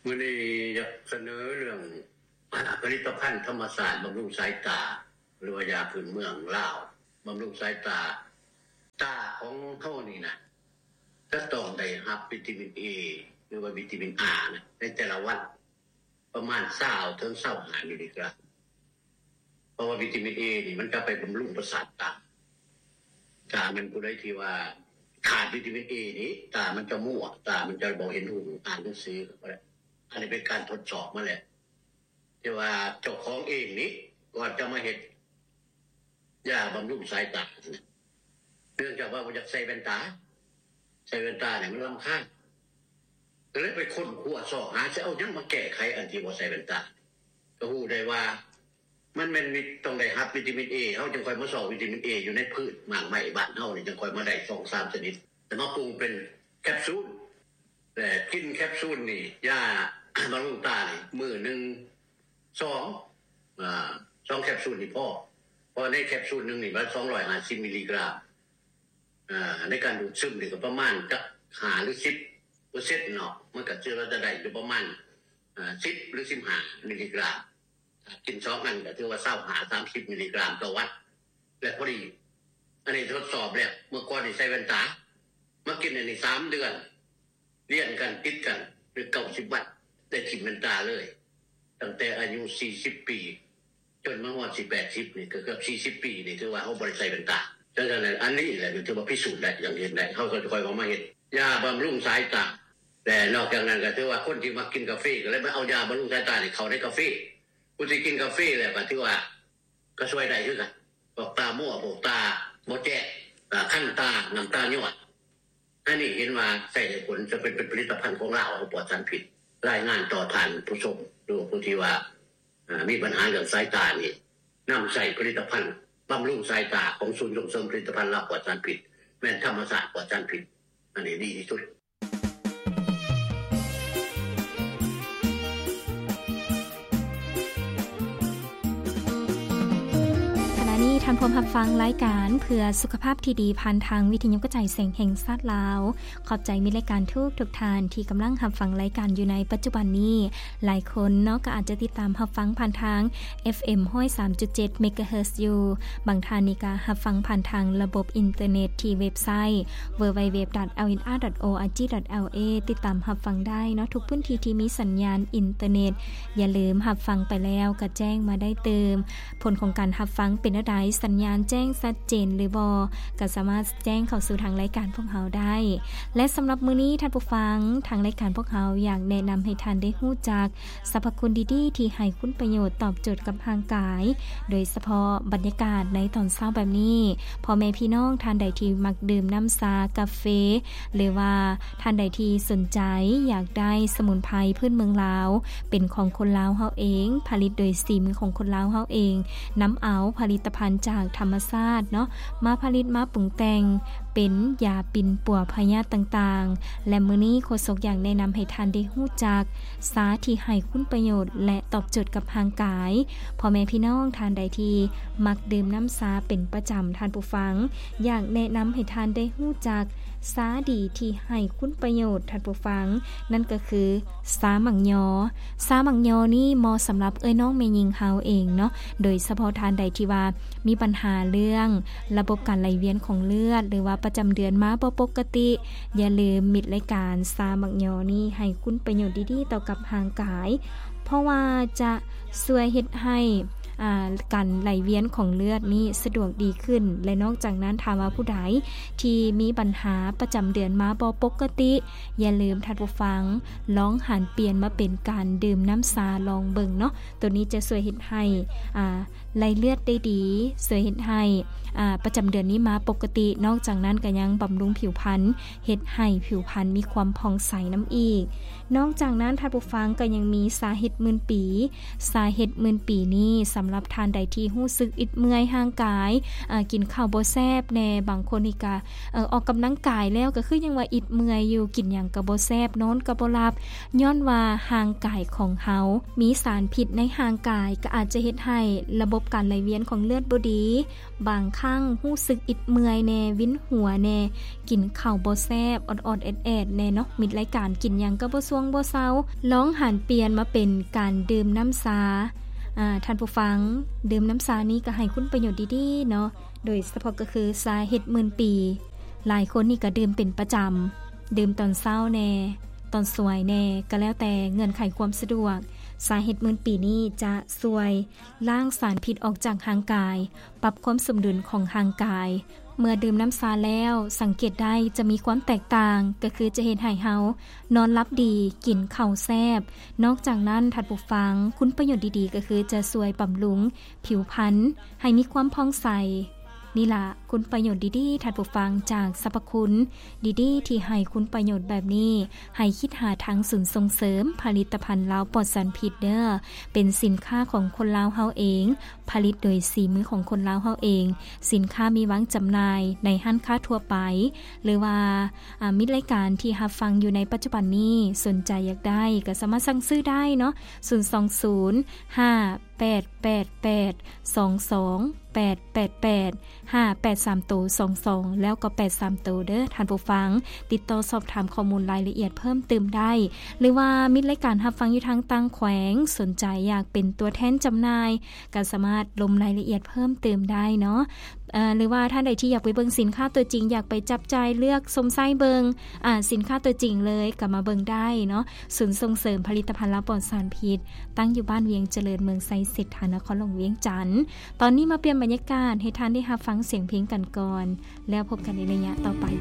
ມື້ນີ້ຢາກສະເໜີເລື່ອງ ອາ ຜະລິດຕະພັນທຳມະຊາດບຳລຸງສາຍຕາ ຫຼືວ່າຢາພື້ນເມືອງລາວບຳລຸງສາຍຕາ. ຕາຂອງເຮົານີ້ນະ ຈະຕ້ອງໄດ້ຮັບວິຕາມິນເອ ຫຼືວ່າວິຕາມິນອານະ ໃນແຕ່ລະວັນ ປະມານຊາວເຖິງຊາວຫ້າມິລລີກຣາມ ເພາະວ່າວິຕາມິນເອນີ້ມັນຈະໄປບຳລຸງປະສາດຕາ. ຖ້າແມ່ນຜູ້ໃດທີ່ວ່າຂາດວິຕາມິນເອນີ້ ຕາມັນຈະມົວ, ຕາມັນຈະບໍ່ເຫັນຫຸ່ງ, ອ່ານໜັງສືກໍບໍ່ໄດ້. ອັນນີ້ເປັນການທົດສອບມາແລ້ວ ທີ່ວ່າເຈົ້າຂອງເອງນີ້ ກ່ອນຈະມາເຮັດ ຢາບຳລຸງສາຍຕາ ເນື່ອງຈາກວ່າບໍ່ຢາກໃສ່ແວ່ນຕາ, ໃສ່ແວ່ນຕານີ້ມັນລຳຄານ ກໍເລີຍໄປຄົ້ນຄວ້າຊອກຫາ ຊິເອົາຫຍັງມາແກ້ໄຂອັນທີ່ບໍ່ໃສ່ແວ່ນຕາ. ກໍຮູ້ໄດ້ວ່າມັນແມ່ນມີ ຕ້ອງໄດ້ຮັບວິຕາມິນເອ, ເຮົາຈຶ່ງຄ່ອຍມາຊອກວິຕາມິນເອຢູ່ໃນພືດໝາກໄມ້ບ້ານເຮົານີ້ ຈຶ່ງຄ່ອຍມາໄດ້ສອງສາມຊະນິດ ແລ້ວມາປຸງເປັນແຄບຊູນ. ແລະ ກິນແຄບຊູນນີ້ ຢາບຳລຸງຕານີ້ ມື້ໜຶ່ງສອງ ອາ ສອງແຄບຊູນນີ້ພໍ ເພາະໃນແຄບຊູນໜຶ່ງນີ້ມັນສອງຮ້ອຍຫ້າສິບມິລລີກຣາມ. ອາ ໃນການດູດຊຶມນີ້ກໍປະມານຈັກຫ້າຫຼືສິບເປີເຊັນເນາະ, ມັນກໍຖືວ່າຈະໄດ້ຢູ່ປະມານ ອາ ສິບຫຼືສິບຫ້າມິລລີກຣາມ. ຖ້າກິນສອງອັນກໍຖືວ່າຊາວຫ້າ ສາມສິບມິລລີກຣາມຕໍ່ວັນ ແລະ ພໍດີ. ອັນນີ້ທົດສອບແລ້ວ, ເມື່ອກ່ອນນີ້ໃສ່ແວ່ນຕາ, ມາກິນອັນນີ້ສາມເດືອນ ລຽນກັນຕິດກັນ ຫຼື ເກົ້າສິບວັນ ໄດ້ຖິ້ມແວ່ນຕາເລີຍ. ຕັ້ງແຕ່ອາຍຸສີ່ສິບປີ ຈົນມາຮອດຊິແປດສິບນີ້ ກໍເກືອບສີ່ສິບປີນີ້ ຖືວ່າເຮົາບໍ່ໄດ້ໃສ່ແວ່ນຕາ. ດັ່ງນັ້ນ ອັນນີ້ແຫຼະ ຖືວ່າພິສູດໄດ້ ຢ່າງເຫັນໄດ້. ເຮົາກໍຄ່ອຍເອົາມາເຮັດຢາບຳລຸງສາຍຕາ. ແລະ ນອກຈາກນັ້ນ ກໍຖືວ່າຄົນທີ່ມັກກິນກາເຟ ກໍເລີຍມາເອົາຢາບຳລຸງສາຍຕານີ້ເຂົ້າໃນກາເຟ. ຜູ້ທີ່ກິນກາເຟແລ້ວ ກໍຖືວ່າ ກໍຊ່ວຍໄດ້ຄືກັນ. ພວກຕາມົວ, ພວກຕາບໍ່ແຈ້ງ, ອາ ຄັນຕາ, ນ້ຳຕາຍ້ອຍ, ອັນນີ້ເຫັນວ່າໃຊ້ໄດ້ຜົນ, ຈະເປັນ ເປັນຜະລິດຕະພັນຂອງລາວ ເຮົາປອດສານພິດ. ລາຍງານຕໍ່ທ່ານຜູ້ຊົມ ຫຼື ຜູ້ທີ່ວ່າ ອາ ມີບັນຫາເລື່ອງສາຍຕານີ້, ນຳໃຊ້ຜະລິດຕະພັນບຳລຸງສາຍຕາຂອງສູນສົ່ງເສີມຜະລິດຕະພັນລາວປອດສານພິດ, ແມ່ນທຳມະຊາດປອດສານພິດ, ອັນນີ້ດີທີ່ສຸດ. ຂະນະນີ້ທ່ານພວມຮັບຟັງລາຍການເພື່ອສຸຂະພາບທີ່ດີ ຜ່ານທາງວິທະຍຸກະຈາຍສຽງແຫ່ງຊາດລາວ. ຂອບໃຈມິດລາຍການທຸກໆທ່ານທີ່ກຳລັງຮັບຟັງລາຍການຢູ່ໃນປັດຈຸບັນນີ້. ຫຼາຍຄົນເນາະ ກໍອາດຈະຕິດຕາມຮັບຟັງຜ່ານທາງ ເອັຟເອັມ ຮ້ອຍສາມຈຸດເຈັດ ເມກາເຮີດ ຢູ່. ບາງທ່ານນີ້ກໍຮັບຟັງຜ່ານທາງລະບົບອິນເຕີເນັດທີ່ເວັບໄຊ ดับเบิลยู ดับเบิลยู ดับเบิลยู ดอท แอล เอช อาร์ อาร์ ที ดอท แอล เอ ຕິດຕາມຮັບຟັງໄດ້ເນາະ ທຸກພື້ນທີ່ທີ່ມີສັນຍານອິນເຕີເນັດ. ຢ່າລືມຮັບຟັງໄປແລ້ວກໍແຈ້ງມາໄດ້ຕື່ມ. ຜົນຂອງການຮັບຟັງເປັນແນວໃດ? ສັນຍານແຈ້ງຊັດເຈນຫຼືບໍ່? ກໍສາມາດແຈ້ງເຂົ້າສູ່ທາງລາຍການພວກເຮົາໄດ້. ແລະ ສຳລັບມື້ນີ້ທ່ານຜູ້ຟັງ, ທາງລາຍການພວກເຮົາຢາກແນະນຳໃຫ້ທ່ານໄດ້ຮູ້ຈັກ ສັບພະຄຸນດີໆທີ່ໃຫ້ຄຸນປະໂຫຍດຕອບໂຈດກັບຮ່າງກາຍ, ໂດຍສະເພາະບັນຍາກາດໃນຕອນເຊົ້າແບບນີ້, ພໍ່ແມ່ພີ່ນ້ອງທ່ານໃດທີ່ມັກດື່ມນ້ຳຊາ, ກາເຟ ຫຼືວ່າທ່ານໃດທີ່ສົນໃຈຢາກໄດ້ສະໝຸນໄພພື້ນເມືອງລາວ ເປັນຂອງຄົນລາວເຮົາເອງ, ຜະລິດໂດຍສີມືຂອງຄົນລາວເຮົາເອງ, ນຳເອົາຜະລິດຕະພັນຈາກທຳມະຊາດເນາະ ມາຜະລິດມາປຸງແຕ່ງເປັນຢາປິ່ນປົວພະຍາດຕ່າງໆ. ແລະ ມື້ນີ້ໂຄສົກຢາກແນະນຳໃຫ້ທ່ານໄດ້ຮູ້ຈັກ ຊາທີ່ໃຫ້ຄຸນປະໂຫຍດ ແລະ ຕອບໂຈດກັບຮ່າງກາຍ. ພໍ່ແມ່ພີ່ນ້ອງທ່ານໃດທີ່ມັກດື່ມນ້ຳຊາເປັນປະຈຳ, ທ່ານຜູ້ຟັງ, ຢາກແນະນຳໃຫ້ທ່ານໄດ້ຮູ້ຈັກຊາດີທີ່ໃຫ້ຄຸນປະໂຫຍດ, ທ່ານຜູ້ຟັງ, ນັ້ນກໍຄືຊາໝາກຍໍ. ຊາໝາກຍໍນີ້ເໝາະສຳລັບເອື້ອຍນ້ອງແມ່ຍິງເຮົາເອງເນາະ, ໂດຍສະເພາະທ່ານໃດທີ່ວ່າ ມີບັນຫາເລື່ອງລະບົບການໄຫຼວຽນຂອງເລືອດ ຫຼືວ່າປະຈຳເດືອນມາບໍ່ປົກກະຕິ, ຢ່າລືມມິດລາຍການຊາໝາກຍໍນີ້ໃຫ້ຄຸນປະໂຫຍດດີໆຕໍ່ກັບຮ່າງກາຍ, ເພາະວ່າຈະຊ່ວຍເຮັດໃຫ້ ອາ ການໄຫຼວຽນຂອງເລືອດນີ້ສະດວກດີຂຶ້ນ. ແລະ ນອກຈາກນັ້ນ, ຖ້າວ່າຜູ້ໃດທີ່ມີບັນຫາປະຈຳເດືອນມາບໍ່ປົກກະຕິ, ຢ່າລືມທ່ານຜູ້ຟັງ ລອງຫັນປ່ຽນມາເປັນການດື່ມນ້ຳຊາລອງເບິ່ງເນາະ. ໂຕນີ້ຈະຊ່ວຍເຮັດໃຫ້ ອາ ໄຫຼເລືອດໄດ້ດີ, ຊ່ວຍເຮັດໃຫ້ ອາ ປະຈຳເດືອນນີ້ມາປົກກະຕິ. ນອກຈາກນັ້ນກໍຍັງບຳລຸງຜິວພັນ, ເຮັດໃຫ້ຜິວພັນມີຄວາມຜ່ອງໃສນຳອີກ. ນອກຈາກນັ້ນ, ທ່ານຜູ້ຟັງ, ກໍຍັງມີຊາເຫັດໝື່ນປີ. ຊາເຫັດໝື່ນປີນີ້ສາ ສຳລັບທ່ານໃດທີ່ຮູ້ສຶກອິດເມື່ອຍຮ່າງກາຍ ອາ ກິນເຂົ້າບໍ່ແຊບແດ່, ບາງຄົນນີ້ກະ ເອີ ອອກກຳລັງກາຍແລ້ວກະຄືຍັງວ່າອິດເມື່ອຍຢູ່, ກິນຫຍັງກະບໍ່ແຊບ, ນອນກະບໍ່ຫຼັບ, ຍ້ອນວ່າຮ່າງກາຍຂອງເຮົາມີສານພິດໃນຮ່າງກາຍ ກະອາດຈະເຮັດໃຫ້ລະບົບການໄຫຼວຽນຂອງເລືອດບໍ່ດີ, ບາງຄັ້ງຮູ້ສຶກອິດເມື່ອຍແດ່, ວິນຫົວແດ່, ກິນເຂົ້າບໍ່ແຊບ, ອອດໆແອດໆແດ່ເນາະ. ມິດລາຍການກິນຫຍັງກໍບໍ່ຊ່ວງບໍ່ເຊົາ, ລອງຫັນປ່ຽນມາເປັນການດື່ມນ້ຳຊາ. ອາ ທ່ານຜູ້ຟັງ, ດື່ມນ້ຳຊານີ້ກໍໃຫ້ຄຸນປະໂຫຍດດີໆເນາະ, ໂດຍສະເພາະກໍຄືຊາເຫັດໝື່ນປີ. ຫຼາຍຄົນນີ້ກໍດື່ມເປັນປະຈຳ, ດື່ມຕອນເຊົ້າແດ່, ຕອນສວຍແດ່, ກໍແລ້ວແຕ່ເງື່ອນໄຂຄວາມສະດວກ. ຊາເຫັດໝື່ນປີນີ້ຈະຊ່ວຍລ້າງສານພິດອອກຈາກຮ່າງກາຍ, ປັບຄວາມສົມດຸນຂອງຮ່າງກາຍ. ເມື່ອດື່ມນ້ຳຊາແລ້ວ ສັງເກດໄດ້ຈະມີຄວາມແຕກຕ່າງ ກໍຄືຈະເຮັດໃຫ້ເຮົານອນຫຼັບດີ, ກິນເຂົ້າແຊບ. ນອກຈາກນັ້ນ ທ່ານຜູ້ຟັງ, ຄຸນປະໂຫຍດດີໆ ກໍຄືຈະຊ່ວຍບຳລຸງຜິວພັນໃຫ້ມີຄວາມຜ່ອງໃສ. ນີ້ລະ ຄຸນປະໂຫຍດດີໆ ທ່ານຜູ້ຟັງ, ຈາກສັບພະຄຸນດີໆທີ່ໃຫ້ຄຸນປະໂຫຍດແບບນີ້, ໃຫ້ຄິດຫາທາງສູນສົ່ງເສີມຜະລິດຕະພັນລາວປອດສານພິດເດີ້. ເປັນສິນຄ້າຂອງຄົນລາວເຮົາເອງ, ຜະລິດໂດຍສີມືຂອງຄົນລາວເຮົາເອງ. ສິນຄ້າມີວາງຈຳໜ່າຍໃນຮ້ານຄ້າທົ່ວໄປ ຫຼືວ່າ ອາ ມິດລາຍການທີ່ຮັບຟັງຢູ່ໃນປັດຈຸບັນນີ້ ສົນໃຈຢາກໄດ້ກໍສາມາດສັ່ງຊື້ໄດ້ເນາະ, ສູນສອງສູນ ຫ້າແປດແປດແປດ ສອງສອງແປດແປດແປດ ຫ້າແປດສາມໂຕ ສອງສອງ ແລ້ວກໍແປດສາມໂຕເດີ້ ທ່ານຜູ້ຟັງ. ຕິດຕໍ່ສອບຖາມຂໍ້ມູນລາຍລະອຽດເພີ່ມຕື່ມໄດ້ ຫຼືວ່າມິດລາຍການຮັບຟັງຢູ່ທາງຕ່າງແຂວງ ສົນໃຈຢາກເປັນຕົວແທນຈຳໜ່າຍ ກໍສາມາດລົມລາຍລະອຽດເພີ່ມຕື່ມໄດ້ເນາະ. ເອີ ຫຼືວ່າທ່ານໃດທີ່ຢາກໄປເບິ່ງສິນຄ້າຕົວຈິງ, ຢາກໄປຈັບຈ່າຍເລືອກຊົມໃຊ້ເບິ່ງ ອາ ສິນຄ້າຕົວຈິງເລີຍ, ກໍມາເບິ່ງໄດ້ເນາະ. ສູນສົ່ງເສີມຜະລິດຕະພັນລາວປອດສານພິດ ຕັ້ງຢູ່ບ້ານວຽງຈະເລີນ, ເມືອງໄຊເສດຖາ, ນະຄອນຫຼວງວຽງຈັນ. ຕອນນີ້ມາປ່ຽນບັນຍາກາດໃຫ້ທ່ານໄດ້ຮັບຟັງສຽງເພງກັນກ່ອນ, ແລ້ວພົບກັນໃນໄລຍະຕໍ່ໄປ.